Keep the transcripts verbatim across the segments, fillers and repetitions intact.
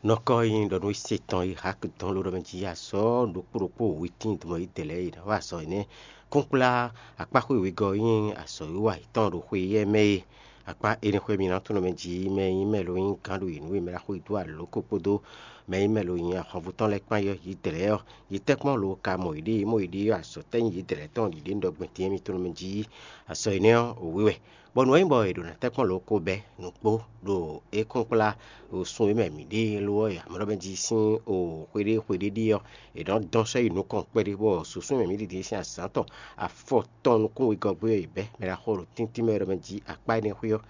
Nɔkɔ e nyí ɖɔ nú se tɔn e Hak dɔn ló ɖɔ mɛ jí azɔ̌ ɖokpó ɖokpó wětín dɔmɔ yi dɛ̌ lɛ́ɛ e ná wa azɔ̌ énɛ́. Kúnkplá akpáxwé wegɔ́ e nyí azɔ̌wiwa yětɔn ɖo xwe éyɛ́ mɛ é. Akpá énɛ́ xwé mǐ ná tunwun mɛ jí mɛ e nyí mɛ lo nyí gǎn ɖo yě nú e mɛ ɖaxó e dó alǒ ko kpódó mɛ e nyí mɛ lo nyí ahwanvú tɔn lɛ́ɛ kpán yɔ́ yě dɛ̌ lɛ́ɛ ɔ́, yě tɛ́nkpɔ́n lo ka mɔ yěɖée mɔ yěɖée ɔ́, azɔ̌ tɛ́ nyí yě dɛ̌ lɛ́ɛ tɔn ɖiɖe un ɖɔ gbɛn din e mi tunwun mɛ jí. Azɔ̌ énɛ́ ɔ́, wǐ wɛ. Bɔ nǔ e nyí bɔ è ɖǒ ná tɛ́nkpɔ́n lǒ ko bɛ́ nǔkpó ɖo é kúnkplá ɖo sun e mɛ mǐ ɖe ló ɔ́, amɔ̌ ɖɔ mɛ jí sín o xweɖé xweɖé ɖíe ɔ́, è nɔ́ dɔn sɔ́ yi nukɔn kpɛɖé, bɔ susú e mɛ mǐ ɖi din sín azǎn tɔn afɔ tɔn nukún wegɔ́ gbé ɔ́, è bɛ́ mɛ ɖaxó ɖo tíntín mɛ ɖɔ mɛ jí akpá énɛ́ xwé ɔ́,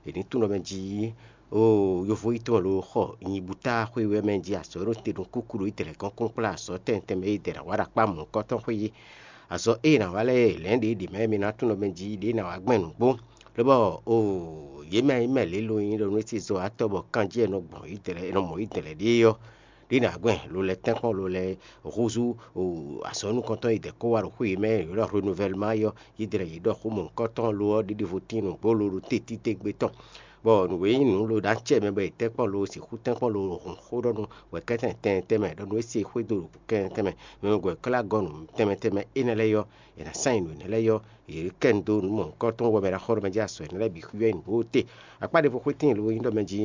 è ní tunwun ɖɔ mɛ jí o yovo yi tɔn lo xɔ nyibúta xwé wɛ mɛ jí azɔ̌ ɖo te ɖo kúkú ɖo yi dɛ̌ lɛ́ɛ gɔ́n kúnkplá azɔ̌ tɛnmɛ tɛnmɛ e dɛ̌ ná wa ɖo akpá mɔ̌hunkɔtɔn xwé yí. Azɔ̌ e è nǎ wa lɛ́ɛ lɛ̌n ɖě ɖě mɛ mi ná tunwun ɖɔ mɛ jí ɖě ná wa gbɛn nǔgbó. Lobɔ o yě mɛ e mɛ lě lo nyí ɖɔ nú é ce zɔ atɔ́ bɔ kanjí e nɔ gbɔn yi dɛ̌ lɛ́ɛ, è nɔ mɔ yi dɛ̌ lɛ́ɛ ɖíe ɔ́, ɖě ná gbɛn lo lɛ́ tɛ́nkpɔ́n lo lɛ́ húzú o azɔ̌ nukɔntɔn yi dɛ̌ kó wá ɖo xwé yě mɛ yě ɖɔ renouvellement yɔ yi dɛ̌ lɛ́ɛ yě ɖɔ xó mɔ̌hunkɔtɔn lo ɔ́ ɖiɖi vo tín nǔgbó lo ɖo te títégbe tɔn. Bɔ nǔ e nyí nǔ lo ɖó acɛ mɛ bɔ è tɛ́nkpɔ́n lo sixú tɛ́nkpɔ́n lo hun xó ɖɔ nú wɛ̌kɛ́tɛn tɛnmɛ tɛnmɛ ɖɔ nú é se xwé dó ɖo kɛnlɛ́n tɛnmɛ, mɛ gɔ̌ klá gɔ́ nǔ tɛnmɛ tɛnmɛ énɛ́ lɛ́ɛ yɔ, è nǎ sán nyi nǔ énɛ́ lɛ́ɛ yɔ, yě kɛ nu dó nǔ mɔ̌hunkɔtɔn wɛ mɛ ɖo axɔ́ ɖɔ mɛ jí azɔ̌ énɛ́ lɛ́ɛ bǐ xwíwɛ́ nyi nǔ bó te. Akpá ɖěvo xwé tíin lo nyí ɖɔ mɛ jí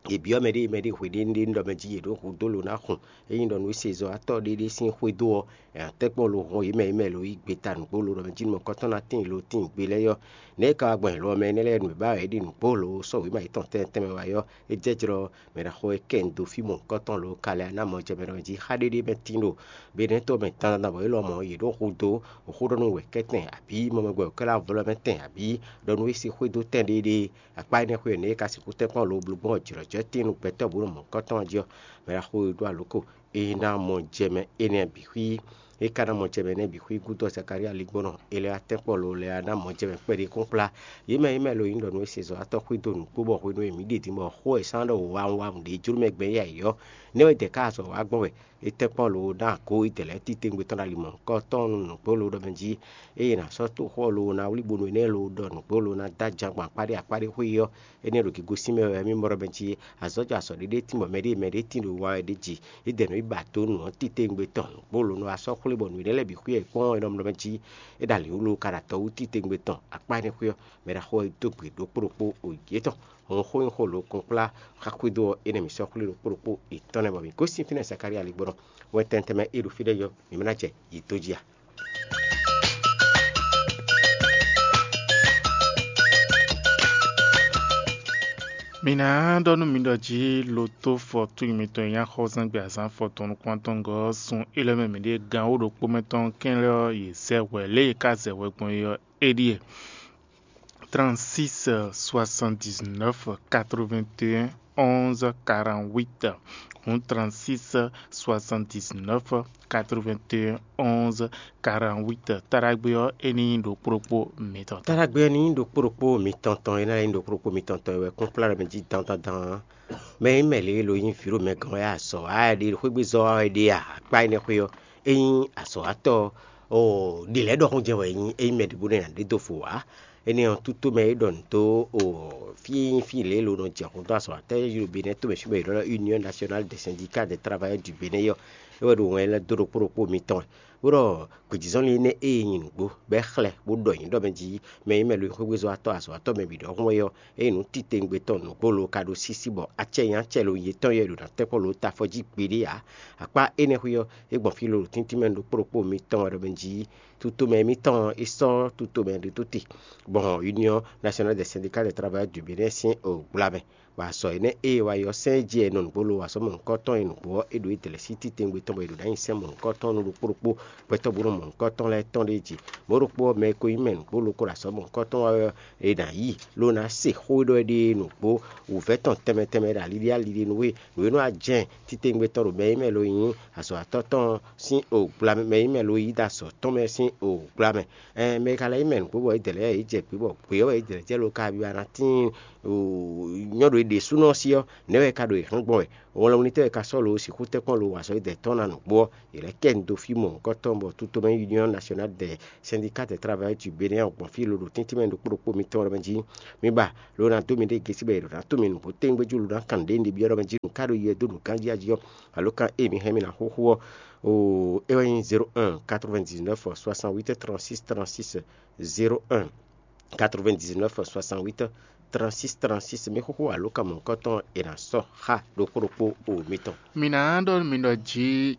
è byɔ́ mɛɖée mɛɖée hweɖénu ɖɔ mɛ jí yě ɖo hudó lo ná xun. Ényí ɖɔ nǔ e se zɔ atɔ́ ɖé ɖé sín xwédo ɔ́, è nǎ tɛ́nkpɔ́n lo hɔn yě mɛ yě mɛ lo yí gbeta nǔgbó lo ɖɔ mɛ jí nukɔntɔn ná tíin lo tíin gbe lɛ́ɛ yɔ. Nɛ̌ é ka wá gbɔn lɔ mɛ énɛ́ lɛ́ɛ nǔ e ba wɛ é ɖi nǔgbó lo sɔ́ wěma yětɔn tɛnmɛ tɛnmɛ wá yɔ? É jɛ jlɔ́ mɛ ɖaxó e kɛ un dó fí mɔ̌hunkɔtɔn lo ka lɛ́ ná mɔ jɛ mɛ ɖɔ jí xá ɖé ɖé mɛ tín ɖo Benɛ́to mɛ dandan bɔ é lɔmɔ̌ yě ɖo hudó xó ɖɔ nú wɛ̌kɛ́tɛn abǐ mɔmɛgbɛ wěkwɛ́ lɛ́ɛ avɔ lɔ mɛ tɛn abǐ ɖɔ nú é sí xwédo tɛn ɖéeɖée. Akpá énɛ́ xwé ɔ́, nɛ̌ é ka sixú tɛ́nkpɔ́n lo bló gbɔn jlɔ̌jlɔ́ tíin nú gbɛtɔ́ bǔ nɔ mɔ̌hunkɔtɔn ɔ́ jí ɔ́, mɛ ɖaxó e ɖó alǒ ko é ná mɔ jɛ mɛ énɛ́ bǐ xwí. É ka ná mɔ jɛ mɛ énɛ́ bǐ xwí gúdo Zakalía ligbɔnɔ é lɛ́ wá tɛ́nkpɔ́n lo lɛ́ɛ wá ná mɔ jɛ mɛ kpɛɖé kúnkplá. Yě mɛ e mɛ lo nyí ɖɔ nú é se zɔ̌watɔ́ xwído nǔkpó bɔ hwenu e mǐ ɖe din bɔ xó e sán ɖɔ wǎwun wǎwun ɖě jló mɛ gbɛn yí ayǐ ɔ́, nɛ́ wɛ dɛ̌ ká azɔ̌ wá gbɔn wɛ. É tɛ́nkpɔ́n lo ná gǒ yi dɛ̌ lɛ́ɛ titewungbe tɔn ɖo ali mɔ̌hunkɔtɔn nú nǔgbó lo ɖɔ mɛ jí, ée è nǎ sɔ́ toxo ɔ́ lo ná wlí bónú énɛ́ lo ɖɔ nǔgbó lo ná dó ajan gbɔn akpáɖé akpáɖé xwé yí ɔ́, énɛ́ ɖo gǐgosín mɛ wɛ mì mɔ ɖɔ mɛ jí azɔ̌ jɔ azɔ̌ ɖéɖé tín bɔ mɛɖée mɛɖée tín ɖo wa wɛ ɖ'é jí. É dɛ nǔ yi ba dó nǔ ɔ́ titewungbe tɔn nǔgbó lo nɔ wá sɔ́ xwlé bɔ nǔ énɛ́ lɛ́ɛ bǐ xwí wɛ é kpɔ́n é nɔ mlɔ́ mɛ jí. É ɖo alǐwú lo ka ɖo atɔ́ wú titewungbe tɔn akpá énɛ́ xwé ɔ́, mɛ ɖaxó ɔ́ yi dó gbe ɖokpó ɖokpó o yětɔn. Hɔn xó nyí xó lo kɔnkplá xá xwédo ɔ́, énɛ́ mǐ sɔ́ xwlé ɖokpó ɖokpó yětɔn lɛ́ɛ bɔ mǐ gosín fínɛ́ Zakalía ligbɔnɔ. Wɛn tɛntɛnmɛ e ɖo fí ɖé yɔ, mǐ mɛ ná jɛ yě dó jí a? Mi ná ɖɔ nú mi ɖɔ jí loto fɔtún mitɔn e nyí axɔ́súzángbe azǎn fɔtɔn nukún-atɔngɔ́ ɔ́ sun é lɛ́ɛ mɛ mǐ ɖe gan wǒ ɖokpó mɛ tɔn kɛnlɛ́ ɔ́, yě zɛ hwɛ. Lě e yě ka zɛ hwɛ gbɔn é ɔ́, é ɖíe: trente-six soixante-dix-neuf quatre-vingt-un onze quarante-huit. Hǔn trente-six soixante-dix-neuf quatre-vingt-un onze quarante-huit. Taɖagbe ɔ́, é ní nyí ɖokpó ɖokpó mitɔn tɔn. Taɖagbe ɔ́ ní nyí ɖokpó ɖokpó mitɔn tɔn, é ná nyí ɖokpó ɖokpó mitɔn tɔn wɛ kúnkplá ɖɔ mɛ jí dandandan. Mɛ e nyí mɛ lě e lo nyí vǐ ɖo mɛ gɔ́n wɛ azɔ̌ wa wɛ ɖe, xwégbezɔ́ wa wɛ ɖe a? Akpá énɛ́ xwé ɔ́, é nyí azɔ̌watɔ́ ɔ́, ɖě lɛ́ɛ ɖɔhun jɛ wɛ é nyí, é nyí mɛ ɖěbǔ nɛ́ ná ɖe dó fo ǎ. Énɛ́ ɔ́, tútómɛ e ɖɔ nǔ dó o fí e nyí fí lě e lo nɔ jɛ xo dó azɔ̌watɔ́ e ɖo Benɛ́ tomɛ fí bɔ è ɖɔ ɖɔ Union Nationale des Syndicats des Travailleurs du Bénin ɔ́, é wɛ ɖo wɛn lɛ́ɛ dó ɖokpó ɖokpó mitɔn wɛ. Bó ɖɔ gbějízɔ́nlin énɛ́ e nyí nǔgbó bɔ é xlɛ́ bó ɖɔ nyǐ ɖɔ mɛ jí mɛ e nyí mɛ lo nyí xwégbezɔ́watɔ́ azɔ̌watɔ́ mɛ bǐ ɖɔhun wɛ ɔ́, ényí nǔ titewungbe tɔn nǔgbó lo ka ɖo sísí bɔ acɛ nyí acɛ lo nyí yětɔn yɛ ɖo nǎ tɛ́nkpɔ́n lo tafɔ jí gbeɖé ǎ. Akpá énɛ́ xwé ɔ́, é gbɔn fí lo ɖo tíntín mɛ ɖokpó ɖokpó mitɔn wɛ ɖɔ mɛ jí tutomɛ mitɔn é sɔ́ tutomɛ ɖé tó te, gbɔn Union Nationale des Syndicats des Travailleurs du Bénin sín gbla mɛ. Bɔ azɔ̌ énɛ́ e è wa yi ɔ́, sɛ́n e jí è nɔ nǔgbó lo wa sɔ́ mɔ̌hunkɔtɔn e nǔgbó ɔ́, é ɖo é dlɛ̌ sí titewungbe tɔn bɔ è ɖo ná nyi sɛ́n mɔ̌hunkɔtɔn nú ɖokpó ɖokpó gbɛtɔ́ bó nɔ mɔ̌hunkɔtɔn lɛ́ɛ tɔn ɖ'é jí. Mɔ̌ ɖokpó ɔ́, mɛ e ko nyí mɛ nǔgbó lo ko ɖo azɔ̌ mɔ̌hunkɔtɔn wa wɛ ɔ́, è nǎ yi ló ná se xó e ɖɔ é ɖe nǔgbó wǔvɛ́ tɔn tɛnmɛ tɛnmɛ ɖo alíɖí alíɖí nú we. Nǔ e nɔ wá jɛ́n titewungbe tɔn ɖo mɛ e mɛ lo nyí azɔ̌watɔ́ tɔn sín o gbla mɛ, mɛ e mɛ lo yí ɖo azɔ̌ tɔn mɛ sín o gbla mɛ. Ɛn mɛ e ka lɛ́ nyí mɛ nǔgbó bɔ é dlɛ̌ yě jɛ gbě bɔ gbě ɔ́ wɛ é dlɛ̌ jɛ lo ka byɔ́ ná tíin nyɔ́ ɖo ɖěsúnɔ ɔ́ sí ɔ́, nɛ̌ wɛ è ka ɖo yě hán gbɔn wɛ? Wlɛnwlítɔ́ e ka sɔ́ lo ɔ́ sixú tɛ́nkpɔ́n lo wa azɔ̌ e dɛ tɔn ná nǔgbó ɔ́, yě lɛ́ kɛ nu dó fí mɔ̌hunkɔtɔn bɔ Tutomɛ Union Nationale des Syndicats des Travailleurs du Bénin ɔ́ gbɔn fí loɖo tɛ́ntin mɛ ɖokpó ɖokpó mitɔn ɔ́ mɛ jí. Mi ba lo ná dó miɖée gěsí bɔ è ɖǒ ná tunwun mi nǔgbó tɛ́ngbéjú lo ná kan nǔɖé ɖě byɔ́ ɖɔ mɛ jí nǔ ká ɖo yi wɛ dó nǔganjí jí ɔ́, alo kan e mi hɛn mi ná xóxó ɔ́, oo é wɛ nyí zéro un quatre-vingt-dix-neuf soixante-huit trente-six trente-six, zéro un quatre-vingt-dix-neuf soixante-huit trente-six trente-six. Mi xóxó alo kan mɔ̌hunkɔtɔn è nǎ sɔ́ xá ɖokpó ɖokpó o mitɔn. Mi ná ɖɔ mi ɖɔ jí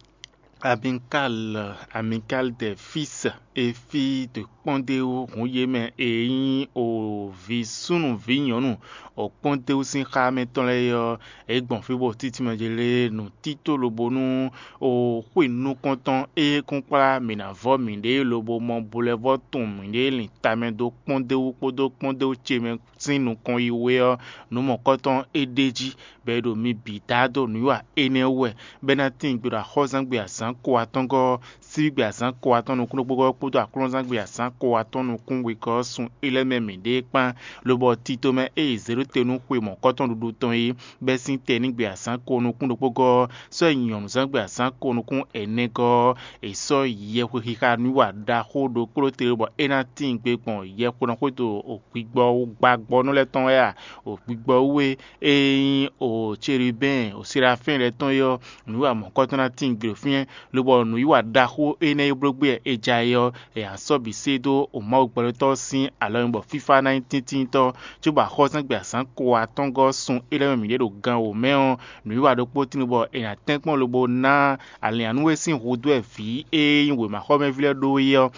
Amikal, Amikal de Fis e fí de kpɔ́ndéwú hun yě mɛ e nyí o vǐ súnnu vǐ nyɔ̌nu o kpɔ́ndéwú sín xá mɛ tɔn lɛ́ɛ ɔ́, é gbɔn fí bɔ títí mɛ jɛ lé nǔtító lobo nú o xwe nukɔntɔn e kún kplá mǐ ná vɔ́ mǐɖée lobo mɔ bulɛ́vɔ́ tun mǐɖée lin tamɛ dó kpɔ́ndéwú kpódó kpɔ́ndéwú ce mɛ sín nukɔn yi wé ɔ́, nǔ mɔ̌kɔtɔn é ɖ'é jí, bɔ è ɖo mi bǐ da dó nǔwiwa énɛ́ wú wɛ, bɔ é ná tíin gbe ɖo axɔ́zán gbe azǎn ko atɔ́ngɔ́ ɔ́, síbígbe azǎn ko atɔ́ nukúnnú kpódó kpódó aklúnɔzán gbe azǎn ko atɔ́ nukún wegɔ́ ɔ́ sun é lɛ́ɛ mɛ mǐɖée kpán, lobɔ tito mɛ e è zě ɖó te nú xwe mɔ̌kɔtɔn ɖuɖu tɔn é, bɛ́ sín tɛnígbe azǎn ko nukún ɖokpó gɔ́ ɔ́, sɔ́ yi nyɔ̌nuzán gbe azǎn ko nukún ɛnɛ gɔ́ ɔ́, è sɔ́ yɛhwexixa nú wa ɖaxó ɖokpó te bɔ é ná tíin gbe gbɔn yɛxwenu xwédo gbigbɔ gbagbɔnú lɛ́ɛ tɔn wɛ a? Gbigbɔ wú e e nyí o Celubɛ́n o Serafɛ́n lɛ́ɛ tɔn é ɔ́, nǔwiwa mɔ̌kɔtɔn ná tíin gbe ɖo fínɛ́, lobɔ nǔwiwa ɖaxó énɛ́ e bló gbé wɛ è ja é ɔ́, è nǎ sɔ́ bǐ sé dó o Mawu gbɛɖotɔ́ sín alɔ nyi bɔ fífá ná nyí tíntíntɔ́, cóbɔ axɔ́súzángbe azǎn ko atɔ́ngɔ́ sun é lɛ́ɛ mɛ mǐɖée ɖo gan wǒ mɛ ɔ́, nǔwiwa ɖokpó tíin bɔ è nǎ tɛ́nkpɔ́n lobo ná alǐannú e sín hudó wɛ vǐ e nyí wěmaxɔmɛví lɛ́ɛ ɖó é ɔ́,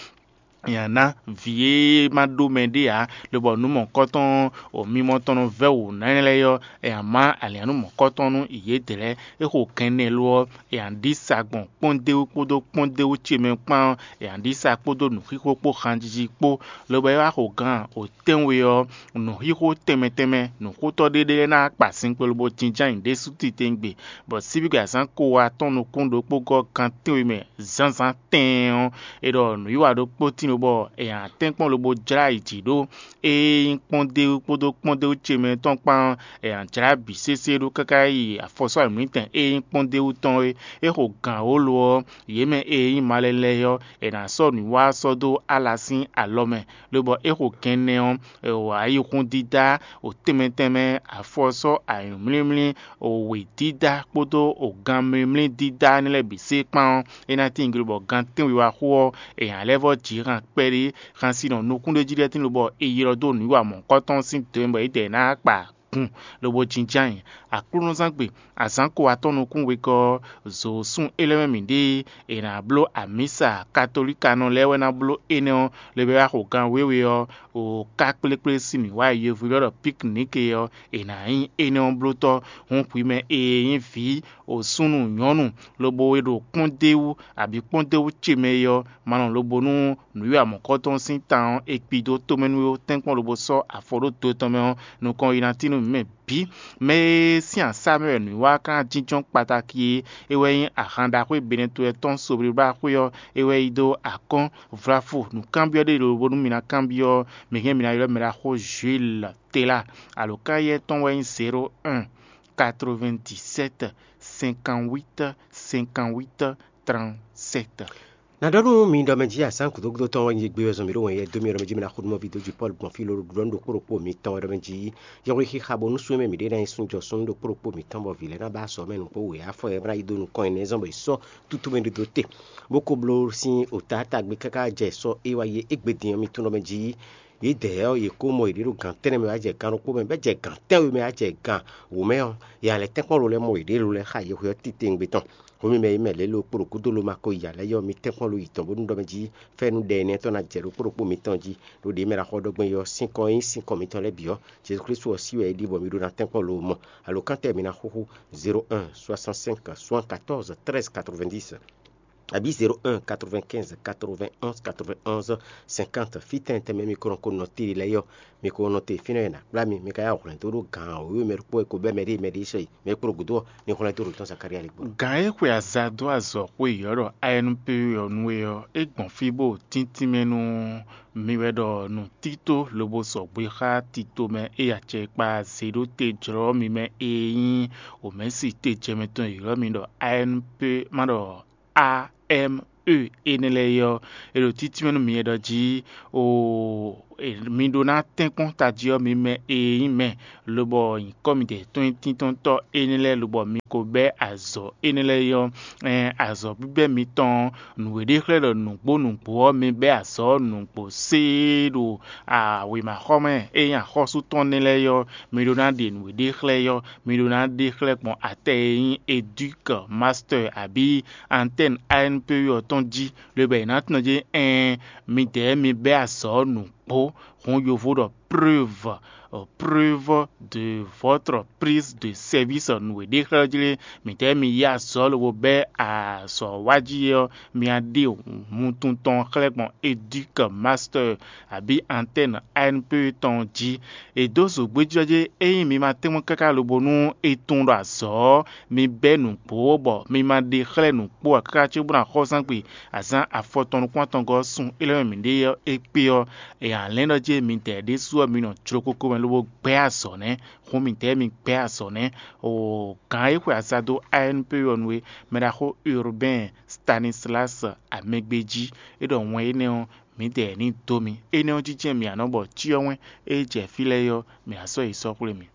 è nǎ ná vǐ e ma ɖó mɛ ɖé ǎ, lobɔ nǔ mɔ̌kɔtɔn mimɔ tɔn nɔ vɛ́ wǔ ná lɛ́ɛ ɔ́, è nǎ má alǐannú mɔ̌kɔtɔn nú yědɛɛ lɛ́ɛ. É xo kɛn nɛ́ lo ɔ́, è nǎ ɖi sa gbɔn kpɔ́ndéwú kpódó kpɔ́ndéwú ce mɛ kpán ɔ́, è nǎ ɖi sa kpódó nǔxixo kpó hanjiji kpó, lobo é wá xo gan wǒ tɛ́nwe ɔ́, nǔxixo tɛnmɛ tɛnmɛ nǔxótɔ́ ɖé ɖé lɛ́ɛ ná kpa sinkpo lobo jínjɔ́n ayǐ ɖésú titewungbe, bɔ síbígbe azǎn ko atɔ́n nukún ɖokpó gɔ́ gan tɛ́nwe mɛ zǎnzǎn tɛɛn ɔ́, è ɖɔ nǔwiwa ɖokpó tíin bɔ è nǎ tɛ́nkpɔ́n lobo jlá yi jǐ ɖó. Ée nyí kpɔ́ndéwú kpódó kpɔ́ndéwú ce mɛ tɔn kpán ɔ́, è nǎ jlá bǐ sésé ɖó káká yi afɔsɔ́ ayǐmlɔ́tɛn e nyí kpɔ́ndéwú tɔn é. É xo gǎn wǒ lo ɔ́, yě mɛ e nyí malɛ lɛ́ɛ ɔ́, è nǎ sɔ́ nǔwiwa ɔ́ sɔ́ dó Ala sín alɔ mɛ, lobɔ é xo gɛnnɛ ɔ́, è wa ayihún dídá, o tɛnmɛ tɛnmɛ, afɔsɔ́, ayǐmlímlí, o wědídá kpódó o ganmlímlí dídá énɛ́ lɛ́ɛ bǐ sé kpán ɔ́, é ná tíin gbe bɔ gan tɛ́nwe wá xo ɔ́, è nǎ lɛ́ vɔ́ jǐ han kpɛɖé, han sin nɔ nukúnɖéjí lɛ́ɛ tíin lobɔ è ylɔ́ dó nǔwiwa mɔ̌hunkɔtɔn sín dǒ mɛ bɔ yědɛɛ ná kpa gun lobo jínjɔ́n ayǐ. Aklúnɔzángbe, azǎn ko atɔ́ nukún wegɔ́ ɔ́, zǒ sun é lɛ́ɛ mɛ mǐ ɖe, è nǎ bló amǐsa katolíkanɔ lɛ́ɛ wɛ ná bló énɛ́ ɔ́, lobo wá xo gan wěwe ɔ́, o ká kplékplé sín mǐ wá e yovó ylɔ́ ɖɔ piknike ɔ́, è nǎ nyí énɛ́ ɔ́ blótɔ́. Hǔn hwi mɛ e nyí vǐ, o súnnu nyɔ̌nu, lobo e ɖo kpɔ́ndéwú, abǐ kpɔ́ndéwú ce mɛ é ɔ́, ma nɔ lobo nú nǔwiwa mɔ̌kɔtɔn sín tan ɔ́, è kpi dó tomɛ nú we ó tɛ́nkpɔ́n lobo sɔ́ afɔ ɖó do tɔn mɛ ɔ́, nukɔn yi ná tín nú mǐ mɛ bǐ. Mɛ e sín asá mɛ wɛ nǔwiwa ka ná jínjɔ́n kpatáki é, é wɛ nyí ahan ɖaxó e Benɛtɔ́ tɔn Soblíblá xwé ɔ́, é wɛ yi dó akɔ́n vlafo nǔkanbyɔ́ ɖé lobo nú mi ná kanbyɔ́, mi hɛn mi ná ylɔ́ mɛ ɖaxó Jules Tela. Alǒkannyɛ tɔn wɛ nyí zéro un quatre-vingt-dix-sept cinquante-huit cinquante-huit trente-sept. Na ɖɔ nú mi ɖɔ mɛ jí asán gǔdo gúdo tɔn wɛ nyi gbé wɛ zɔn mǐ ɖo wɛn yɛ dó mì ɖɔ mɛ jí mi ná xo nú mɔví dó jí Pɔ́lu gbɔn fí lóɖo ɖuɖɔ nú ɖokpó ɖokpó mitɔn wɛ ɖɔ mɛ jí yɔhwlí xixa bónú sú mɛ mǐ ɖe ná nyi súnjɔ súnnu ɖokpó ɖokpó mitɔn bɔ vǐ lɛ́ɛ ná ba azɔ̌ mɛ nǔgbó wě afɔ e ná yi dó nukɔn énɛ́ zɔn bɔ è sɔ́ tútú mɛ ɖó té, bó ko bló sín ota tagbe káká jɛ sɔ́ é wá yi égbé din ɔ́ mi tunwun ɖɔ mɛ jí yědɛɛ ɔ́, yě kó mɔ yěɖée ɖo gǎn tɛ́nnɛ mɛ wá jɛ gǎn ɖokpó mɛ, bɔ é jɛ gǎn tɛ́nwe mɛ wá jɛ gǎn wǒ mɛ ɔ́, yě ná lɛ́ tɛ́nkpɔ́n lo lɛ́ɛ mɔ yěɖée lo lɛ́ɛ xa yɛhweɔ́ titewungbe tɔn. Hǔn mi mɛ e mɛ lě lo kpo ɖo gúdo lo ma ko yi alɛ yɛ ɔ́, mi tɛ́nkpɔ́n lo yi tɔn bónú ɖɔ mɛ jí fɛ́nú ɖɛ énɛ́ tɔn ná jɛ ɖokpó ɖokpó mitɔn jí, ɖó ɖě mɛ ná xɔ ɖɔgbɛ́n ɔ́ sín kɔn e nyí sín kɔn mitɔn lɛ́ɛ bǐ ɔ́, Jezu Klísu ɔ́ sí wɛ é ɖi bɔ mi ɖó ná tɛ́nkpɔ́n lo mɔ. Alǒkántɛ́ mi ná xúxú zéro un soixante-cinq soixante-quatorze treize quatre-vingt-dix. abǐ zéro un quatre-vingt-quinze quatre-vingt-onze quatre-vingt-onze cinquante. Fítɛn tɛnmɛ mi ko nɔ ko nɔ tlí lɛ́ɛ ɔ́, mi ko nɔ te fínɛ́ e è nǎ kplá mi, mi ka yá hwlɛ̌n dó ɖó gǎn wěwe mɛ ɖokpó e ko bɛ́ mɛɖée mɛɖée sɔ́yi mɛ e kpló gǔdo ɔ́, mi hwlɛ́n dó ɖo tɔ́n Zakalía lí gbɔn. Gǎn e xwe aza dó azɔ̌ xwe yɔ̌ ɖɔ A N P E ɔ́ nú we ɔ́, é gbɔn fí bó tíntín mɛ nú mi wɛ ɖɔ nǔtító lobo sɔgbe xá tito mɛ e acɛkpa zě ɖó te jlɔ́ mi mɛ e nyí wǒmɛsi tejɛmɛ tɔn e ylɔ́ mi ɖɔ A N P, ma ɖɔ A M E énɛ́ lɛ́ɛ é ɔ́, è ɖo títí mɛ nú mi e ɖɔ jí oo, mi ɖó ná tɛ́nkpɔ́n tají ɔ́, mi mɛ e nyí mɛ, lobɔ nyǐkɔ midɛɛ tɔn nyí tíntɔ́ntɔ́ énɛ́ lɛ́ɛ, lobɔ mi ko bɛ́ azɔ̌ énɛ́ lɛ́ɛ é ɔ́, ɛn azɔ̌ bíbɛ́ mitɔn ɔ́, nǔ e ɖe xlɛ́ ɖɔ nǔgbó nǔgbó ɔ́, mi bɛ́ azɔ̌ nǔgbó séé ɖo wěmaxɔmɛ e nyí axɔ́sú tɔn nɛ́ lɛ́ɛ é ɔ́, mi ɖó ná ɖe nǔ e ɖe xlɛ́ é ɔ́, mi ɖó ná ɖe xlɛ́ gbɔn atɛ e nyí édúk, mastɛ́ abǐ antɛ́n A N P E ɔ́ tɔn jí, lobɔ è nǎ tunwun jí ɛɛn, midɛɛ mi bɛ́ azɔ̌ nǔgbó, hǔn yovo ɖɔ preuve, preuve de votre prise de service nǔ e ɖe xlɛ́ jí lé, midɛɛ mi yí azɔ̌ lobo bɛ́ azɔ̌ wá jí é ɔ́, mi wá ɖe wuntun tɔn xlɛ́ gbɔn édúk, mastɛ́ abǐ antɛ́n A N P E tɔn jí. È dó zǒgbéjɔ́ jí ényí mi ma tɛ́nmɔ káká lobo nú è tunwun ɖɔ azɔ̌ ɔ́, mi bɛ́ nǔgbó bɔ mi ma ɖe xlɛ́ nǔkpó ǎ káká cóbó ná xɔ zán gbe azǎn afɔtɔn nukún atɔngɔ́ ɔ́ sun é lɛ́ mɛ mǐ ɖe ɔ́ é kpé ɔ́, è nǎ lɛ́n ɖɔ jí midɛɛ ɖésú ɔ́ mi nɔ jló kókó mɛ lobo gbɛ́ azɔ̌ nɛ́. Hǔn midɛɛ mi gbɛ́ azɔ̌ nɛ́. Oo, gǎn e xwe aza dó A N P E ɔ́ nu é, mɛ ɖaxó Urbain Stanislas Amɛgbéjí, é ɖɔ wɛn énɛ́ ɔ́, midɛɛ ní dó mi. Énɛ́ ɔ́ jínjɛ́n mǐ a nɔ bɔ cyɔ wɛn e jɛ fí lɛ́ɛ ɔ́, mǐ a sɔ́ yi sɔ́ xwlé mi.